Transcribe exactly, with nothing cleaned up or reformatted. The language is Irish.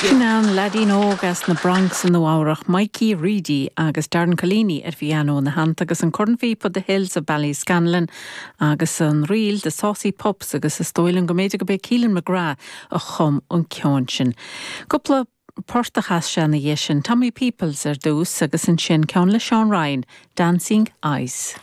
Sin an leaidín óg as na Bronx i Nua-Eabhrac Mikey Reedy agus Darren Collini ar phianó ina theannta agus an cornphíopa The Hills of Ballyscanlan agus an ríl The Saucy Pups agus is dóigh liom go mb'fhéidir gurb é Keelan McGrath a chum an ceann sin. Cúpla port a chas sé ina dhiaidh sin Tommy Peoples ar dtús agus ansin ceann le Sean Ryan, Dancing Eyes.